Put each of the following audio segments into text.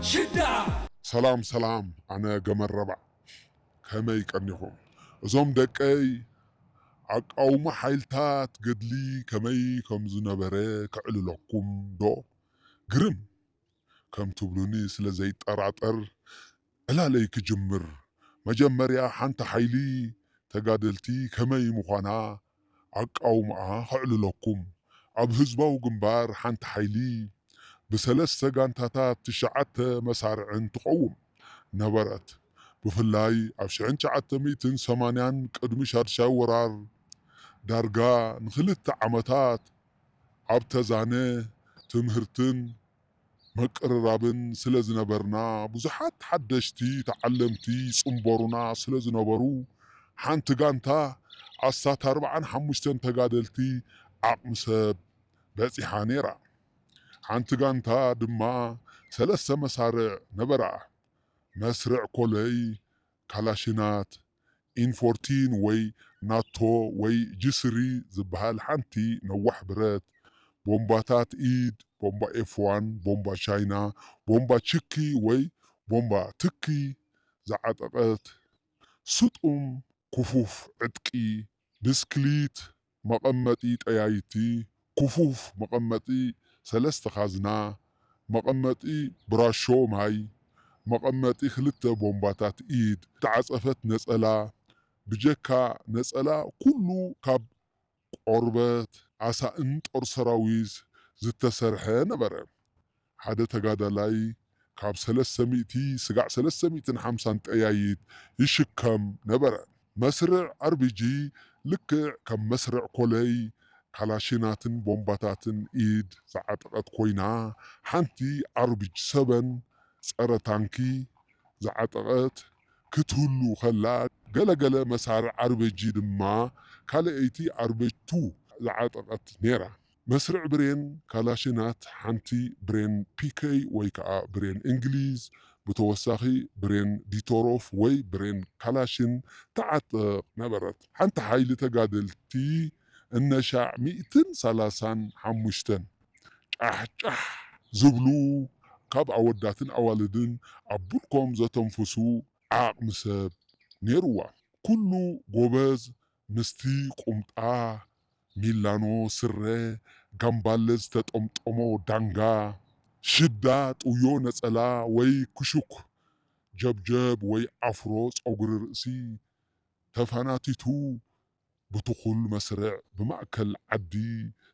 ሽዳ ሰላም ሰላም፣ ኣነ ገመረባ። ከመይ ቀኒኹም? እዞም ደቀይ ኣቃውማ ሓይልታት ገድሊ ከመይ ከም ዝነበረ ከዕልለኩም ዶ? ግርም ከም ትብሉኒ ስለ ዘይጠራጠር ዕላለይ ክጅምር። መጀመርያ ሓንቲ ሓይሊ ተጋደልቲ ከመይ ምዃና ኣቃውማኣ ከዕልለኩም። ኣብ ህዝባዊ ግንባር ሓንቲ ሓይሊ ብሰለስተ ጋንታታት ትሽዓተ መሳርዕን ትቐውም ነበረት። ብፍላይ ኣብ ሽሕን ትሽዓተ ሚእትን ሰማንያን ቅድሚ ሻድሻይ ወራር ዳርጋ ንኽልተ ዓመታት ኣብ ተዛነ ትምህርትን ምቅርራብን ስለ ዝነበርና ብዙሓት ሓደሽቲ ተዓለምቲ ይጽንበሩና ስለ ዝነበሩ ሓንቲ ጋንታ ኣስታት ኣርብዓን ሓሙሽተን ተጋደልቲ ዓቕሚ ሰብ በጺሓ ነይራ። ሓንቲ ጋንታ ድማ ሰለስተ መሳርዕ ነበራ። መስርዕ ኮለይ፣ ካላሽናት፣ ኢን ፎርቲን ወይ ናቶ ወይ ጂ ስሪ ዝበሃል ሓንቲ ነዋሕ ብረት፣ ቦምባታት ኢድ፣ ቦምባ ኤፍ ዋን፣ ቦምባ ቻይና፣ ቦምባ ችኪ ወይ ቦምባ ትኪ ዝዓጠቐት፣ ስጡም ክፉፍ ዕጥቂ፣ ብስክሊት፣ መቐመጢ ጠያይቲ፣ ክፉፍ መቐመጢ ሰለስተ ካዝና፣ መቐመጢ ብራሾ ማይ፣ መቐመጢ ክልተ ቦምባታት ኢድ፣ ዝተዓጸፈት ነጸላ፣ ብጀካ ነጸላ ኩሉ ካብ ቆርበት ኣሳእን ጦር ሰራዊት ዝተሰርሐ ነበረ። ሓደ ተጋዳላይ ካብ ሰለስተ ሚእቲ ስጋዕ ሰለስተ ሚእትን ሓምሳን ጠያይት ይሽከም ነበረ። መስርዕ ኣርቢጂ ልክዕ ከም መስርዕ ኮለይ ካላሽናትን ቦምባታትን ኢድ ዝዓጠቐት ኮይና፣ ሓንቲ ኣርቢጂ ሰበን ጸረ ታንኪ ዝዓጠቐት ክትህሉ ከላ፣ ገለገለ መሳርዕ ኣርበጂ ድማ ካልኣይቲ ኣርበጅ ቱ ዝዓጠቐት ነይራ። መስርዕ ብሬን ካላሽናት ሓንቲ ብሬን ፒከይ ወይ ከዓ ብሬን እንግሊዝ፣ ብተወሳኺ ብሬን ዲቶሮፍ ወይ ብሬን ካላሽን ትዓጥቕ ነበረት። ሓንቲ ሓይሊ ተጋደልቲ እነሻዕ ሚእትን ሰላሳን ሓሙሽተን ጫሕ ጫሕ ዝብሉ ካብ ኣወዳትን ኣዋልድን ኣብ ብልኮም ዘተንፍሱ ዓቕሚ ሰብ ነይርዋ። ኩሉ ጎበዝ ምስቲ ቁምጣ፣ ሚላኖ ስረ፣ ጋምባለ ዝተጠምጠሞ ዳንጋ፣ ሽዳ ጥውዮ ነጸላ ወይ ክሹክ ጀብጀብ ወይ ኣፍሮ ጸጉሪ ርእሲ ተፋናቲቱ ብትኹል መስርዕ ብማእከል ዓዲ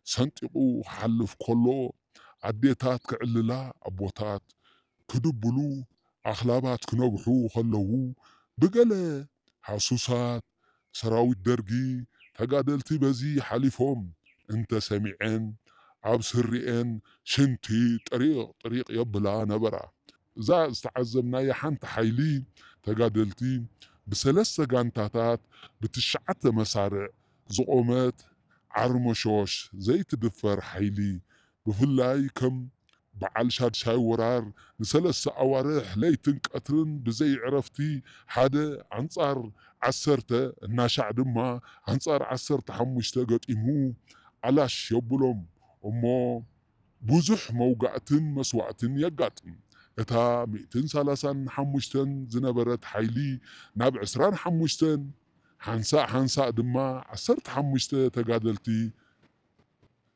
ሰንጢቑ ክሓልፍ ከሎ፣ ኣዴታት ክዕልላ፣ ኣቦታት ክድብሉ፣ ኣኽላባት ክነብሑ ከለዉ፣ ብገለ ሃሱሳት ሰራዊት ደርጊ ተጋደልቲ በዚ ሓሊፎም እንተሰሚዐን፣ ኣብ ስሪኤን ሽንቲ ጥሪቕ ጥሪቕ የብላ ነበራ። እዛ ዝተዓዘብናያ ሓንቲ ሓይሊ ተጋደልቲ ብሰለስተ ጋንታታት ብትሽዓተ መሳርዕ ዝቖመት ዓርመሾሽ ዘይትድፈር ሓይሊ፣ ብፍላይ ከም በዓል ሻድሻይ ወራር ንሰለስተ ኣዋርሕ ለይትን ቀትርን ብዘይ ዕረፍቲ ሓደ ኣንጻር ዓሰርተ እናሻዕ ድማ ኣንጻር ዓሰርተ ሓሙሽተ ገጢሙ ኣላሽ የብሎም እሞ ብዙሕ መውጋእትን መስዋእትን የጋጥም። እታ ሚእትን ሰላሳን ሓሙሽተን ዝነበረት ሓይሊ ናብ ዕስራን ሓሙሽተን ሓንሳእ ሓንሳእ ድማ ዓሰርተ ሓሙሽተ ተጋደልቲ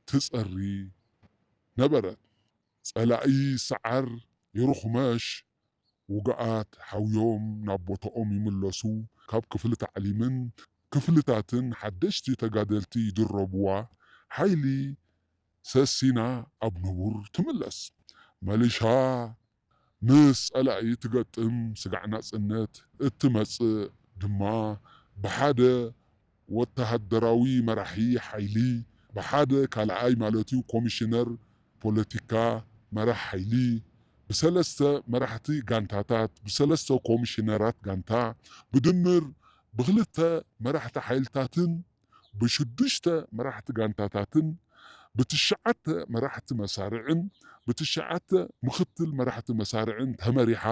ትጸሪ ነበረት። ጸላኢ ሰዓር ይርኹመሽ፣ ውጉኣት ሓውዮም ናብ ቦታኦም ይምለሱ፣ ካብ ክፍሊ ታዕሊምን ክፍልታትን ሓደሽቲ ተጋደልቲ ይድረብዋ፣ ሓይሊ ሰሲና ኣብ ንቡር ትምለስ። መሊሻ ምስ ጸላኢ ትገጥም ስጋዕ ናጽነት እትመጽእ ድማ ብሓደ ወተሃደራዊ መራሒ ሓይሊ፣ ብሓደ ካልኣይ ማለት እዩ ኮሚሽነር ፖለቲካ መራሕ ሓይሊ፣ ብሰለስተ መራሕቲ ጋንታታት፣ ብሰለስተ ኮሚሽነራት ጋንታ፣ ብድምር ብክልተ መራሕቲ ሓይልታትን ብሽዱሽተ መራሕቲ ጋንታታትን ብትሽዓተ መራሕቲ መሳርዕን ብትሽዓተ ምኽትል መራሕቲ መሳርዕን ተመሪሓ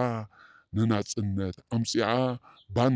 ንናጽነት ኣምጺኣ ባን